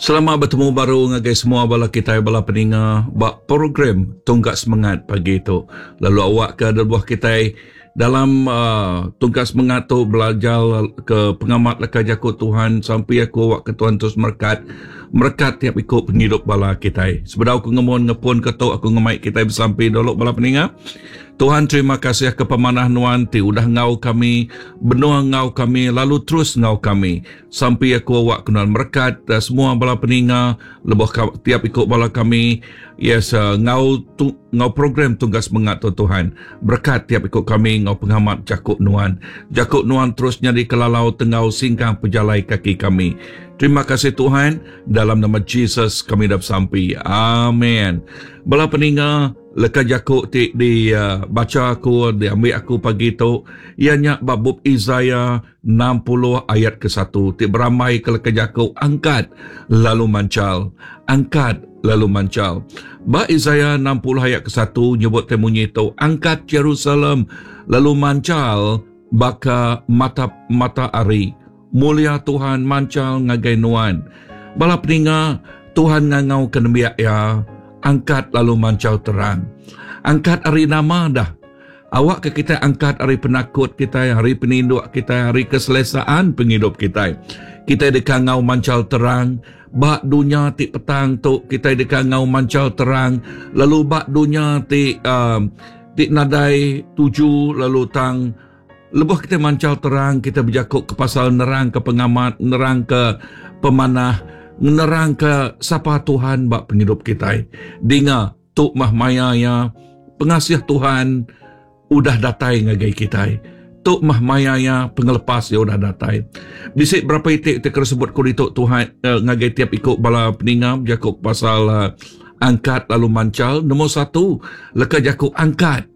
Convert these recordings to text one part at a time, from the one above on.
Selamat betemu baru ngagai semua bala kitai bala peninga ba program Tungkat Semengat pagi tu. Lalu awakka lebuh kitai dalam uh, Tungkat Semengat tu belajar ke pengamat leka jaku Tuhan sampai aku awakka Tuhan terus merekat merekat tiap iku pengidup bala kitai. Sebedau aku ngemun ngepun ke tu aku ngemai kitai besampi dulu bala peninga. Tuhan terima kasih ke pemanah nuan ti udah enggau kami, benung enggau kami lalu terus enggau kami. Sampi aku awak ke nuan merekat semua bala peninga lebuh tiap iku bala kami yes enggau tu enggau program tungga semengat tu Tuhan. Berekat tiap iku kami enggau pengamat jaku nuan. Jaku nuan terus nyadi ke lalau tenggau singkang pejalai kaki kami. Terima kasih Tuhan dalam nama Jesus kami dah besampi. Amen. Bala peninga Leka jaku ti dibacha aku, diambi aku pagi tu, iya nya ba bup Isaiah 60 ayat kesatu ti berambaika leka jaku angkat lalu manchal. Angkat lalu manchal. Ba Isaiah 60 ayat kesatu nyebut ti munyi tu, Angkat Jerusalem lalu manchal baka mata mata ari. Mulia Tuhan manchal ngagai nuan. Bala peninga, Tuhan ngangauka nembiak Iya, Angkat lalu manchal terang. Angkat ari nama dah? Awakka kitai angkat ari penakut kitai, ari peninduk kitai, ari keselesaan pengidup kitai. Kitai deka enggau manchal terang ba dunya ti petang tu, kitai deka enggau manchal terang lalu ba dunya ti uh, ti nadai tuju lalu tang Lebuh kitai manchal terang, kitai bejaku ke pasal nerangka pengamat, nerangka pemanah, nerangka sapa Tuhan ba pengidup kitai. Dinga, tu mah maya iya pengasih Tuhan udah datai ngagai kitai. Tu mah maya iya pengelepas iya udah datai. Bisi berapa iti ti kena sebut ku ditu Tuhan eh, ngagai tiap iku bala peninga bejaku pasal eh, angkat lalu manchal. Nombor satu, leka jaku angkat.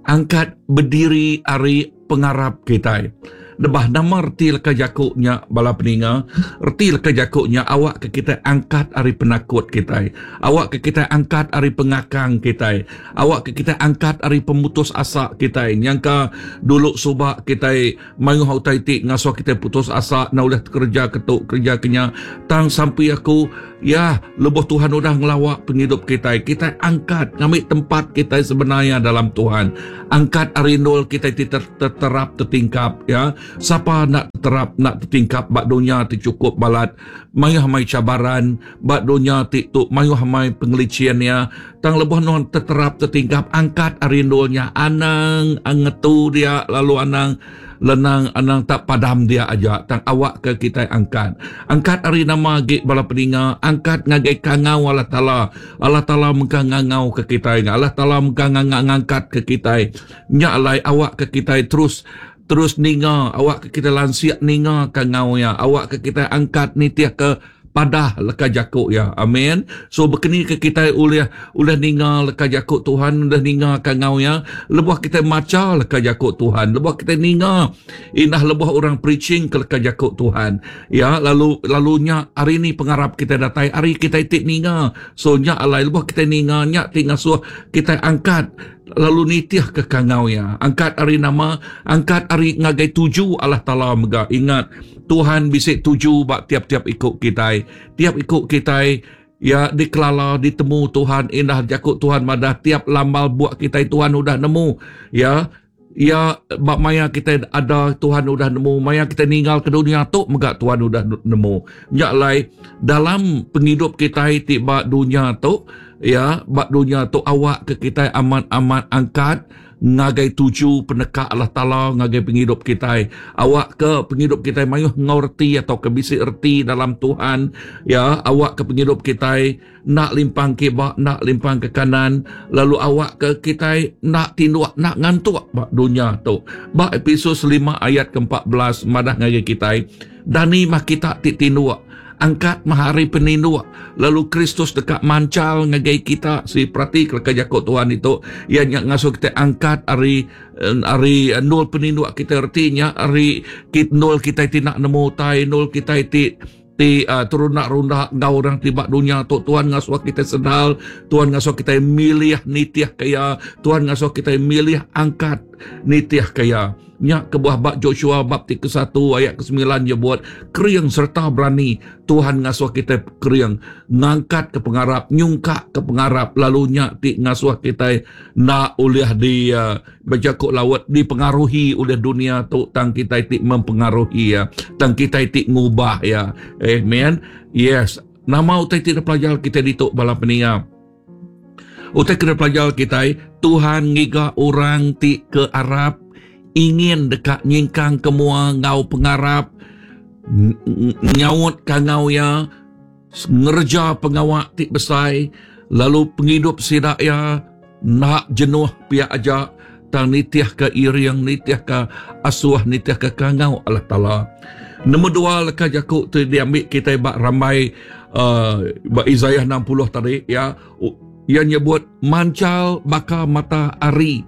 Angkat bediri ari pengarap kitai. Nebah nama reti leka jaku nya bala peninga? Reti leka jaku nya awakka kitai angkat ari penakut kitai. Awakka kitai angkat ari pengakang kitai. Awakka kitai angkat ari pemutus asa kitai. Nyangka dulu suba kitai mayuh utai ti ngasuh kitai putus asa enda ulih kereja ke tu kereja ke nya. Tang sampi aku ya lebuh Tuhan udah ngelawa pengidup kitai, kitai angkat ngambi tempat kitai sebenar iya dalam Tuhan. Angkat ari endul kitai ti terap tetingkap ya. Sapa enda terap enda tetingkap ba dunya ti chukup balat mayuh amai cabaran ba dunya ti tu mayuh amai pengelicin iya. Tang lebuh nuan teterap tetingkap angkat ari endur nya anang ngetu dia lalu anang lenang anang tak padam dia aja tang awakka kitai angkat. Angkat ari nama agi bala peninga angkat ngagai kangau Allah Taala. Allah Taala mega ngangauka kitai Allah Taala mega ngangkatka kitai. Nya alai awakka kitai terus terus ninga awakka kitai lansik ninga kangau iya awakka kitai angkat nitihka padah leka jaku iya. Amen. So bekeni ke kitai ulih ulih ninga leka jaku Tuhan, ulih ninga kangau iya lebuh kitai macha leka jaku Tuhan, lebuh kitai ninga indah lebuh orang preaching ke leka jaku Tuhan. Ya, lalu lalu nya ari ni pengarap kitai datai ari kitai ti ninga. So nya alai lebuh kitai ninga nya ti ngasuh kitai angkat lalu nitih ke kangau iya. Angkat ari nama, angkat ari ngagai tuju Allah Taala mega. Ingat, Tuhan bisi tuju ba tiap-tiap iku kitai. Tiap iku kitai ya dikelala, ditemu Tuhan. Indah jaku Tuhan madah tiap lambal buk kitai Tuhan udah nemu. Ya, ya ba maya kitai ada Tuhan udah nemu, maya kitai ninggal ke dunia tu mega Tuhan udah nemu. Nya alai dalam pengidup kitai ti ba dunya tu, ya ba dunya tu awak ke kitai amat-amat angkat ngagai tuju peneka Allah Taala ngagai pengidup kitai. Awak ke pengidup kitai mayuh enggau reti atau ke bisi reti dalam Tuhan, ya awak ke pengidup kitai enda limpang kiba, enda limpang ke kanan, lalu awak ke kitai enda tinduk, enda ngantuk ba dunya tu. Ba Epesus 5 ayat ke-14 madah ngagai kitai, Dani mah kita ti tinduk, angkat mah ari peninduk, lalu Kristus deka manchal ngagai kita. Si perati ke leka jaku Tuhan itu, iya nya ngasuh kita angkat ari ari endul peninduk kita reti nya ari endul kita ti nak nemu utai, endul kita ti ti uh, terunda-runda enggau orang ti ba dunya tu Tuhan ngasuh kita sedar, Tuhan ngasuh kita milih nitih ke iya, Tuhan ngasuh kita milih angkat nitih ke iya. Nya kebuah ba Joshua bab ti kesatu ayat kesembilan nyebut, Kering sereta berani. Tuhan ngasuh kitai kering, ngangkatka pengarap, nyungkakka pengarap lalu nya ti ngasuh kitai enda ulih di bejaku laut dipengaruhi ulih dunia tu tang kitai ti mempengaruhi iya, tang kitai ti ngubah iya. Amen. Yes. Nama utai ti dipelajar kitai ditu bala peninga? Utai ke dipelajar kitai, Tuhan ngiga orang ti ke arap, ingin deka nyingkang ke mua enggau pengarap, nyaut kangau iya, ngereja pengawa ti besai, lalu pengidup sida iya enda jenuh pia aja tang nitihka iring, nitihka asuh, nitihka kangau Allah Taala. Nombor dua leka jaku ti diambi kitai ba rambai uh, ba Isaiah 60 tadi ya iya nyebut mancal baka mata hari.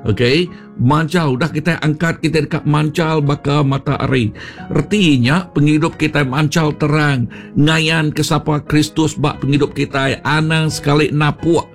Okey, mancal udah kita angkat kita deka mancal baka mata hari. Reti nya pengidup kita mancal terang ngayan ke sapa Kristus ba pengidup kita anang sekali napuk,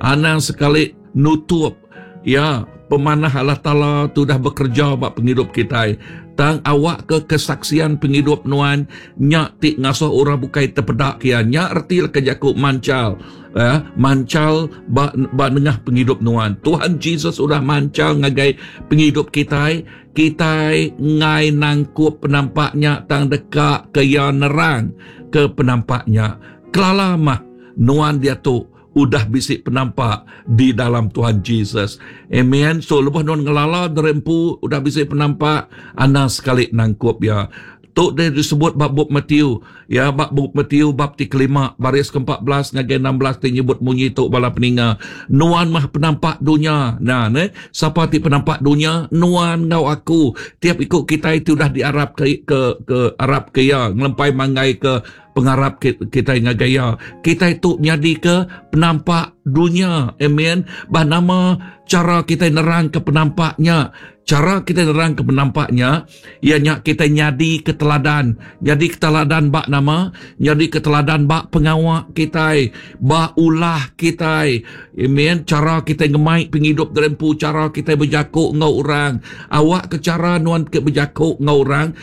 anang sekali nutup ya pemanah Allah Taala tu dah bekerja ba pengidup kitai. Tang awak ke kesaksian pengidup nuan nya ti ngasuh orang bukai tepeda ke iya. Nya reti leka jaku mancal. Eh, mancal ba ba nengah pengidup nuan. Tuhan Jesus udah mancal ngagai pengidup kitai. Kitai ngai nangkup penampak nya tang deka ke iya nerang ke penampak nya. Kelala mah nuan diatu udah bisi penampak di dalam Tuhan Jesus. Amen. So lebuh nuan ngelala diri empu udah bisi penampak, anang sekali nangkup iya. Tu deh disebut ba bup Matthew. Ya, ba bup Matthew bab ti kelima, baris ke-14 ngagai 16 ti nyebut munyi tu bala peninga. Nuan mah penampak dunya. Nah, ne, sapa ti penampak dunya? Nuan enggau aku. Tiap iku kitai ti udah diarap ke ke, ke arap ke iya, ngelempai manggai ke pengarap kitai ngagai iya. Kitai tu nyadika penampak dunya. Amen. Bah nama cara kitai nerangka penampak nya? Cara kitai nerangka penampak nya, iya nya kitai nyadi ke teladan. Nyadi ke teladan ba nama? Nyadi ke teladan ba pengawa kitai, ba ulah kitai. Amen. Cara kitai ngemai pengidup diri empu, cara kitai bejaku enggau orang. Awakka cara nuan ke bejaku enggau orang,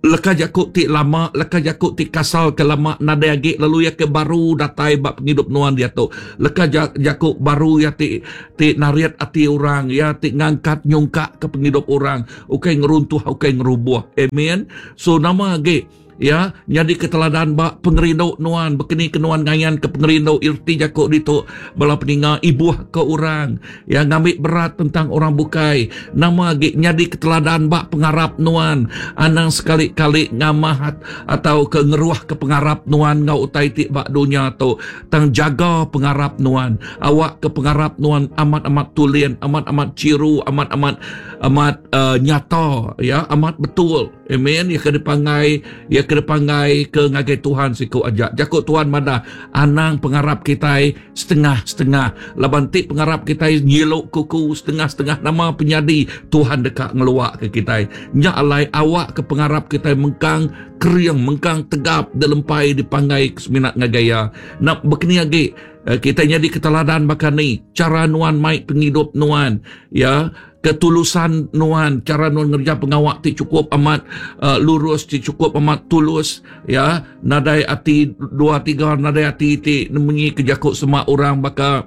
Leka jaku ti lama, leka jaku ti kasal ke lama nadai agi lalu iya ke baru datai ba pengidup nuan diatu. Leka jaku baru iya ti ti narit ati orang, iya ti ngangkat nyungkak ke pengidup orang, ukai ngeruntuh ukai ngerubuh. Amen. So nama agi ya nyadi ke teladan ba pengerindu nuan, bekeni ke nuan ngayan ke pengerindu erti jaku ditu bala peninga ibuh ke orang. Iya ngambi berat tentang orang bukai. Nama agi nyadi ke teladan ba pengarap nuan. Anang sekali-kali ngamah atau ke ngeruh ke pengarap nuan enggau utai ti ba dunya tu. Tang jaga pengarap nuan. Awak ke pengarap nuan amat-amat tulin, amat-amat chiru, amat-amat amat uh, nyata, ya, amat betul. Amen. Iya ke dipanggai, iya ke dipanggai ke ngagai Tuhan siku aja. Jaku Tuhan madah, anang pengarap kitai setengah-setengah. Laban ti pengarap kitai nyilu kuku setengah-setengah nama penyadi Tuhan deka ngeluak ke kitai. Nya alai awak ke pengarap kitai mengkang kering, mengkang tegap dilempai dipanggai ke semina ngagai iya. Nak bekeni agi eh, kitai nyadi keteladan baka ni cara nuan mai pengidup nuan ya ketulusan nuan, cara nuan ngereja pengawa ti cukup amat uh, lurus, ti cukup amat tulus, ya, nadai ati dua tiga, nadai ati ti nemunyi ke jaku sema orang baka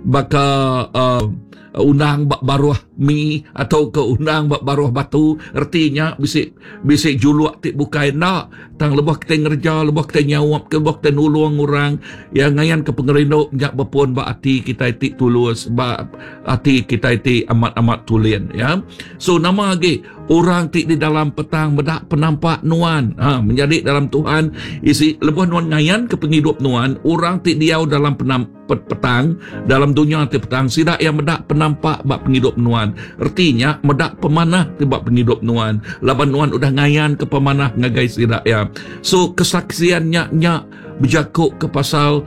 baka uh, undang ba baruh mi atau ke undang ba baruh batu, reti nya bisi bisi juluk ti bukai enda. Tang lebuh kitai ngereja, lebuh kitai nyaup, lebuh kitai nulung orang, ya ngayan ke pengerindu nya bepun ba ati kitai ti tulus, ba ati kitai ti amat-amat tulin, ya. So nama agi orang ti di dalam petang meda penampak nuan, ha, menyadi dalam Tuhan, isi lebuh nuan ngayan ke pengidup nuan, orang ti diau dalam penam, petang, dalam dunya ti petang, sida iya meda penampak ba pengidup nuan. Reti nya, meda pemanah ti ba pengidup nuan, laban nuan udah ngayanka pemanah ngagai sida iya. So, kesaksian nya nya bejaku ke pasal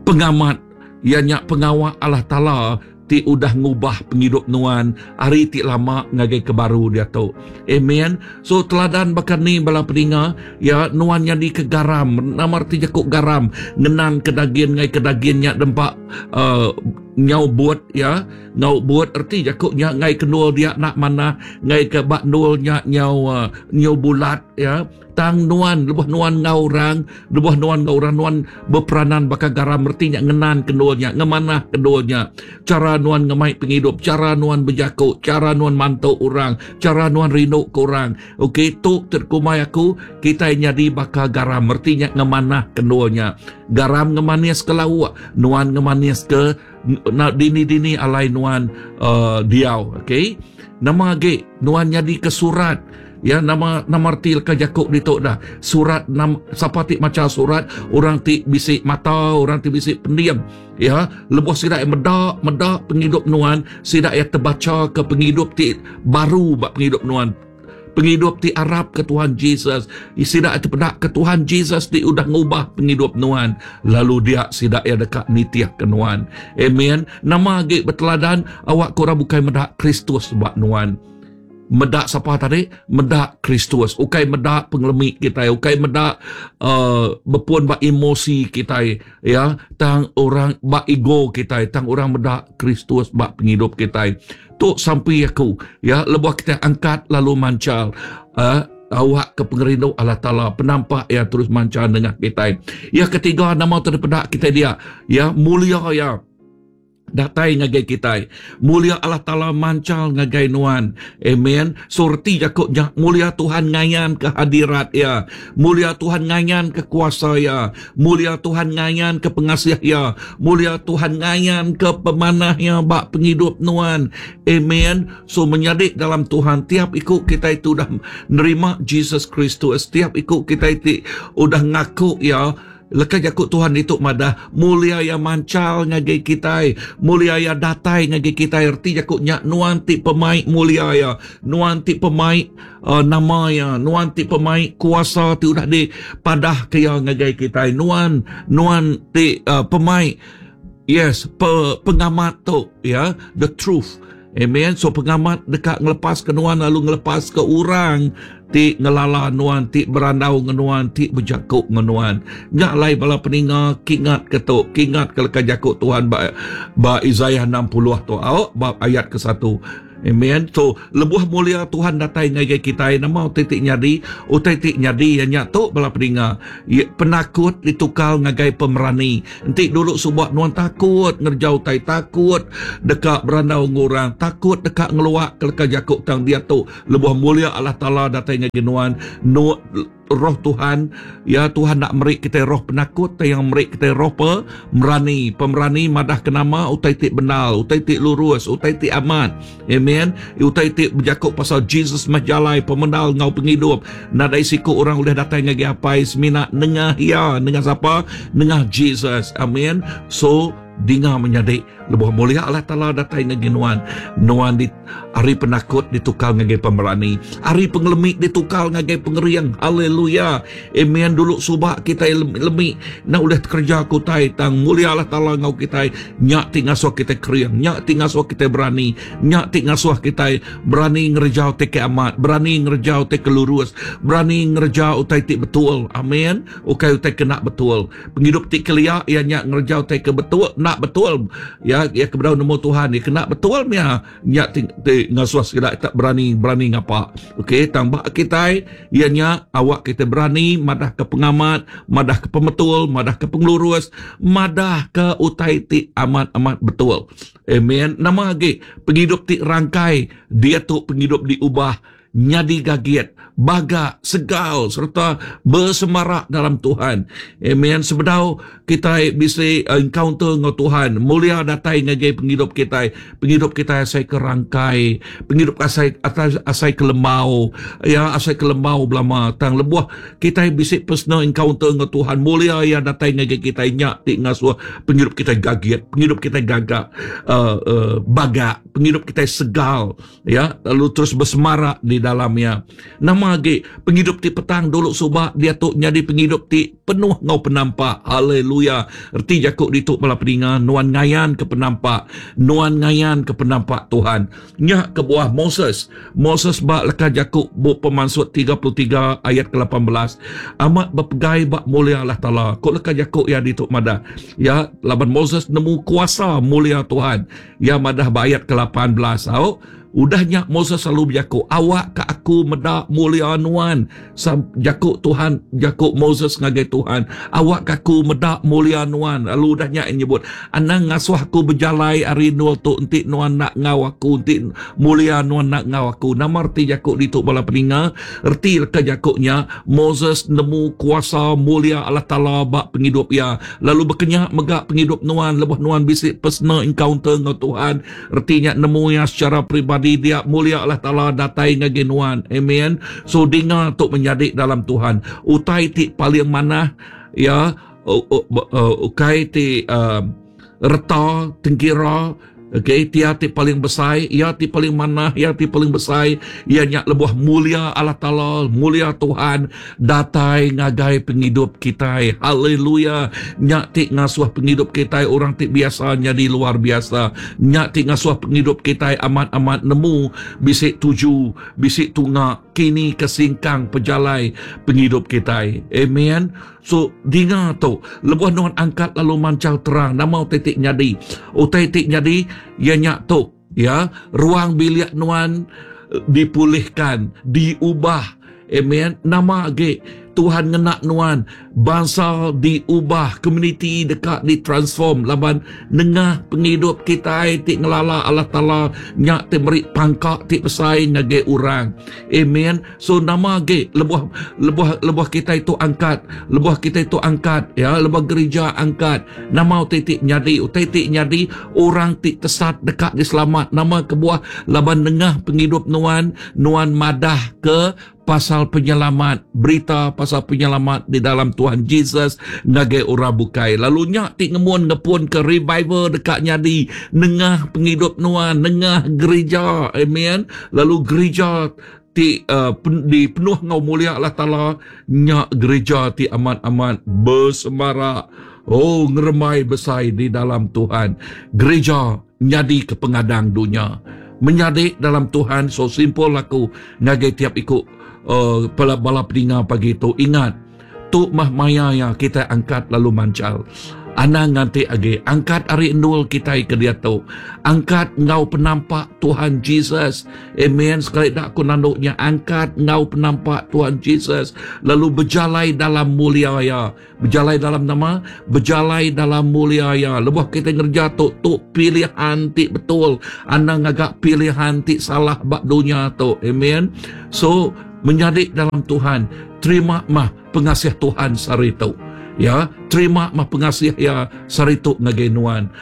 pengamat, iya nya pengawa Allah Taala ti udah ngubah pengidup nuan ari ti lama ngagai ke baru diatu. Amen. So teladan baka ni bala peninga, ya nuan nyadi ke garam. Nama reti jaku garam? Ngenan ke dagin ngai ke dagin nya dempa uh, Nyau but iya, ngau but reti jaku nya ngai ke endur dia enda manah, ngai ke ba endur nya nyau nyau bulat iya. Tang nuan lebuh nuan enggau orang, lebuh nuan enggau orang nuan beperanan baka garam reti nya ngenan ke endur nya, ngemanah ke endur nya. Chara nuan ngemai pengidup, chara nuan bejaku, chara nuan mantu orang, chara nuan rindu ke orang. Okey tu ti kumbai aku kitai nyadi baka garam reti nya ngemanah ke endur nya. Garam ngemanis ke lauk, nuan ngemanis ke dini-dini alai nuan uh, diau. Okey. Nama agi nuan nyadi ke surat ya nama nama reti leka jaku ditu dah surat nam, sapa ti macha surat orang ti bisi mata orang ti bisi pending ya lebuh sida iya meda meda pengidup nuan sida iya tebacha ke pengidup ti baru ba pengidup nuan Pengidup ti arap ke Tuhan Jesus. Sida tepeda ke Tuhan Jesus ti udah ngubah pengidup nuan. Lalu dia sida iya deka nitih ke nuan. Amen. Nama agi beteladan awak ke orang bukai meda Kristus ba nuan. Meda sapa tadi? Meda Kristus. Ukai meda pengelemi kitai. Ukai meda uh, bepun ba emosi kitai. Ya, tang orang ba ego kitai. Tang orang meda Kristus ba pengidup kitai. Tu sampi aku, ya, lebuh kita angkat lalu manchal, uh, awak ke pengerindu Allah Taala penampak ya terus manchal nengah kita. Ya ketiga nama tu dipeda kita dia, ya mulia ya datai ngagai kita. Mulia Allah Taala manchal ngagai nuan. Amen. So reti jaku nya mulia Tuhan ngayan ke hadirat ya. Mulia Tuhan ngayan ke kuasa ya. Mulia Tuhan ngayan ke pengasih ya. Mulia Tuhan ngayan ke pemanah ya ba pengidup nuan. Amen. So menyadi dalam Tuhan tiap iku kita itu udah nerima Jesus Kristus. Tiap iku kita itu udah ngaku ya Leka jaku Tuhan ditu madah, mulia iya manchal ngagai kitai, mulia iya datai ngagai kitai. Reti jaku nya nuan ti pemai mulia iya, nuan ti pemai uh, nama iya, nuan ti pemai kuasa ti udah dipadah ke iya ngagai kitai. Nuan nuan ti uh, pemai yes pe, pengamat tu ya, the truth. Amen. So pengamat deka ngelepas ke nuan lalu ngelepas ke orang ti ngelala nuan, ti berandau dengan nuan, ti bejaku dengan nuan. Nya alai bala peninga kingat ke tu, kingat ke leka jaku Tuhan ba ba Isaiah 60 tu, au ba ayat ke-1. Amen. So, lebuh mulia Tuhan datai ngagai kitai, nama utai ti nyadi? Utai ti nyadi iya nya tu bala peninga. Penakut ditukar ngagai pemerani. Enti dulu suba nuan takut ngereja utai, takut deka berandau enggau orang, takut deka ngeluak ke leka jaku tang diatu lebuh mulia Allah Taala datai ngagai nuan, nu Roh Tuhan, ya Tuhan nak meri kitai roh penakut tang yang meri kitai roh pemerani. Pemerani madah ke nama utai ti bendar, utai ti lurus, utai ti amat. Amen. Utai ti bejaku pasal Jesus meh jalai pemendar enggau pengidup. Nadai siku orang ulih datai ngagai Apai semina nengah iya, nengah sapa? Nengah Jesus. Amen. So dinga menyadi lebuh mulia Allah Taala datai ngagai nuan, nuan di ari penakut ditukar ngagai pemerani, ari pengelemi ditukar ngagai pengering. Haleluya. Amen. Dulu suba kitai lemi enda ulih tekereja ke utai tang mulia Allah Taala enggau kitai nya ti ngasuh kitai kering, nya ti ngasuh kitai berani, nya ti ngasuh kitai berani ngereja utai ke amat, berani ngereja utai ke lurus, berani ngereja utai ti betul. Amen. Ukai utai ke enda betul. Pengidup ti kelia iya nya ngereja utai ke betul enda betul ya iya ke bedau nemu Tuhan iya kena betul mia nya ti, ti ngasuh sida tak berani berani ngapa. Okey tang ba kitai iya nya awak kita berani madah ke pengamat, madah ke pemetul, madah ke pengelurus, madah ke utai ti amat-amat betul. Amen. Nama agi pengidup ti rangkai diatu pengidup diubah nyadi gagit, bagak, segal sereta besemarak dalam Tuhan. Amen. Sebedau kitai bisi eh, encounter enggau Tuhan, mulia datai ngagai pengidup kitai. Pengidup kitai asai ke rangkai, pengidup asai asai, asai ke lembau, ya asai ke lembau belama. Tang lebuh kitai bisi personal encounter enggau Tuhan, mulia iya datai ngagai kitai nya ti ngasuh pengidup kitai gagit, pengidup kitai gagak, uh, uh, bagak, pengidup kitai segal. Ya, lalu terus bersemarak di dalam. dalam iya. Nama agi pengidup ti petang dulu suba diatu nyadi pengidup ti penuh enggau penampak. Haleluya. Reti jaku ditu bala peninga nuan ngayanka penampak. Nuan ngayanka penampak Tuhan. Nya kebuah Moses, Moses ba leka jaku Bup Pemansut 33 ayat ke 18 amat bepegai ba mulia Allah Taala. Ku leka jaku iya ditu madah, ya laban Moses nemu kuasa mulia Tuhan. Iya madah ba ayat ke 18 au, Udah nya Moses lalu bejaku, Awakka aku meda mulia nuan. Sam, jaku Tuhan, jaku Moses ngagai Tuhan, Awakka aku meda mulia nuan. Lalu udah nya iya nyebut, Anang ngasuh aku bejalai ari endur tu enti nuan enda enggau aku, enti mulia nuan enda enggau aku. Nama reti jaku ditu bala peninga? Reti leka jaku nya, Moses nemu kuasa mulia Allah Taala ba pengidup iya. Lalu baka nya mega pengidup nuan lebuh nuan bisi personal encounter enggau Tuhan, Reti nya nemu iya secara peribadi dia mulia Allah Taala datai ngagai nuan. Amen. So dinga tu menyadi dalam Tuhan. Utai ti paling manah ya ukai ti uh, reta tengkira Okay, tia ti paling besai, ia ti paling manah, ia ti paling besai, ia nya lebuh mulia Allah Taala, mulia Tuhan datai ngagai pengidup kitai. Haleluya. Nya ti ngasuh pengidup kitai orang ti biasa nyadi luar biasa. Nya ti ngasuh pengidup kitai amat-amat nemu bisi tuju, bisi tunga kini ke singkang pejalai pengidup kitai. Amen. So, dinga tu, lebuh nuan angkat lalu manchal terang, nama utai ti nyadi? Utai ti nyadi iya nya tu, ya, ruang bilik nuan dipulihkan, diubah. Amen. Nama agi Tuhan ngena nuan, bansa diubah, komuniti deka ditransform laban nengah pengidup kitai ti ngelala Allah Taala nya ti meri pangka ti besai ngagai orang. Amen. So nama agi lebuh lebuh lebuh kitai tu angkat, lebuh kitai tu angkat ya, lebuh gerija angkat, nama utai ti nyadi? Utai ti nyadi orang ti tesat deka diselamat. Nama kebuah? Laban nengah pengidup nuan Nuan madah ke pasal penyelamat, berita pasal penyelamat di dalam Tuhan Jesus ngagai orang bukai. Lalu nya ti ngemun ngepun ke revival deka nyadi nengah pengidup nuan, nengah gerija. Amen. Lalu gerija ti uh, pen, dipenuh enggau mulia Allah Taala nya gerija ti amat-amat bersemarak. Oh, ngerembai besai di dalam Tuhan. Gereja nyadi ke pengadang dunya. Menyadi dalam Tuhan, so simple aku ngagai tiap iku uh, bala peninga pagi tu. Ingat, tu mah maya ya kita angkat lalu mancal. Anang nganti agi, angkat ari endul kitai ke diatu. Angkat enggau penampak Tuhan Jesus. Amen. Sekali dak aku nandu nya, angkat enggau penampak Tuhan Jesus. Lalu bejalai dalam mulia ya. Bejalai dalam nama? Bejalai dalam mulia iya. Lebuh kita ngereja tu, tu pilihan ti betul. Anang ngaga pilihan ti salah ba dunya tu. Amen. So, menyadi dalam Tuhan, terima mah pengasih Tuhan sehari tu. Ya, terima mah pengasih iya sehari tu ngagai nuan.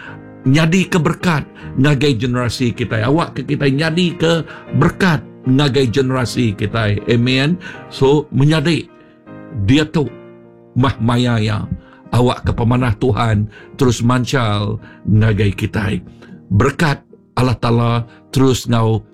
Nyadi ke berkat ngagai generasi kita. Awak ke kita nyadi ke berkat ngagai generasi kita. Amen. So, menyadi Diatu mah maya iya awakka pemanah Tuhan terus manchal ngagai kitai. Berekat Allah Taala terus enggau.